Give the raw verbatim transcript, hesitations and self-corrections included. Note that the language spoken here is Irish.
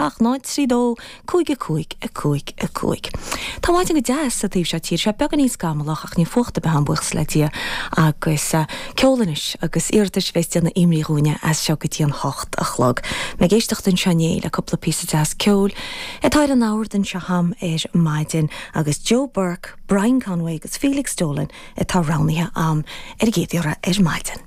seacht náid trí dó cúig a cúig a cúig a cúig. Tá maidin go deas sa taobh seo tíre sé beagáinín scamallach ach ní fuacht ar bith ann buíochas le Dia agus uh, ceol anois agus iarratais bheith déanamh imrí dhúine as seo go dtí an hocht a chlog. Ag éisteacht anseo inné le cúpla píosa deas ceoil atá ar an ord anseo a'm ar maidin agus Joe Burke, Brian Conway agus Felix Dolan atá roghnaithe a'm ar an gcéad iarraidh ar maidin.